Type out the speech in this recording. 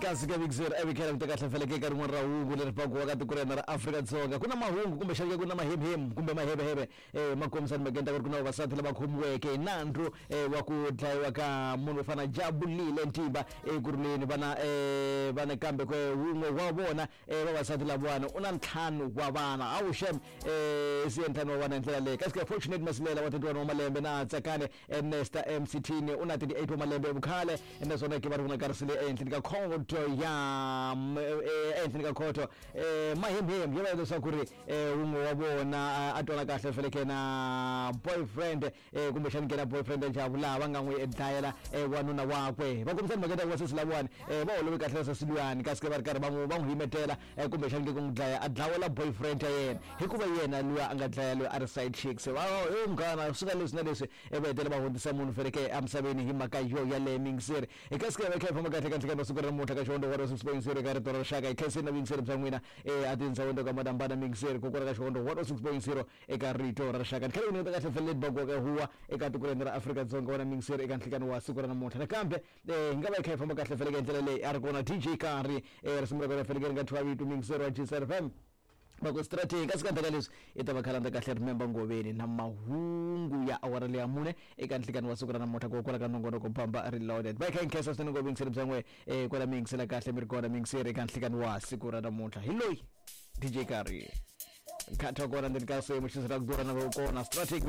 Kasi ka Mixer evikela ku kahle feleke ka rin'wana ra hungu leri pakiwaka tiko ra hina ra Afrika-Dzonga. Ku na mahungu kumbexana ku na mahemhemu kumbe maheveheve ma kombisa ni magenda ku ri ku na vavasati lava khomiweke hi nandzu wa ku dlayiwa ka munhu wo fana Jabulile Ntimba eKurhuleni. Vana vana kambe wun'we wa vona vavasati lavawani u na ntlhanu wa vana. Hawu xem, siye ntlhanu wa vana hi ndlela leyi. Kasi ke Fortunate Masilela wa 31 wa malembe na Tsakane Ernesta Mctini u na 38 wa malembe vukhale, naswona ke va ri vonakarisile ehenhleni ka khoto ya ehenhleni ka khoto. Mahemhemu ya va leswaku ri wun'we wa vona a twana kahle feleke na boyfriend, kumbexani ke na boyfriend ya Jabu, laha va nga n'wi dlayela wanuna wakwe. Va kombisa mhaka ta ku vasesi lavawani va holove kahle na sesi luyani, kasi ke va ri karhi va n'wi himetela kumbexani ke ku n'wi dlaya, a dlawela boyfriend ya yena, hikuva yena luya a nga dlaya loyi a ri side chicks. Va he munghana, swi nga leswi na leswi, va hetelela va hundzisa munhu feleke emisaveni hi mhaka yo yaleyo. Miyingiseri, hi kasi ke va kha hi famba kahle ka nhlekani wa siku ra namuntlha ka Xihondzo 106.0 eka Rito ra Rixaka. Hi khenseni na vuyingiseri bya n'wina a tindhawini to hambanahambana. Miyingiseri kokwala ka Xihondzo 106.0 eka Rito ra Rixaka, ni tlhela ku nyiketa kahle feleleti bakiwaka huwa eka tiko ra hina ra Afrika-Dzonga. Wena miyingiseri, eka nhlikani wa siku ra namuntlha nakambe hi nga va hi kha hi famba kahle feleke hi ndlela leyi. A ri kona DJ Karhi, risimu ra kona feleke ri nga thyiwa vito. Miyingiseri wa GCR FM, va ku strategy. Kasi ka ndzhaku ka leswi i ta va khalanda kahle Remember Ngoveni na mahungu ya awara leya mune eka nhlikani wa siku ra namuntlha kokwala ka nongonoko Bamba Reloaded. Va hi kha hi nkhensa swinene ngopfu yingiseri bya n'we kwala mi yingisela kahle, mi ri kona miyingiseri eka nhlikani wa siku ra namuntlha. Hi loyi DJ Karhi, nkhatha wa kona ndzeni ka xiyimo xi ra ku durha na kona strategy.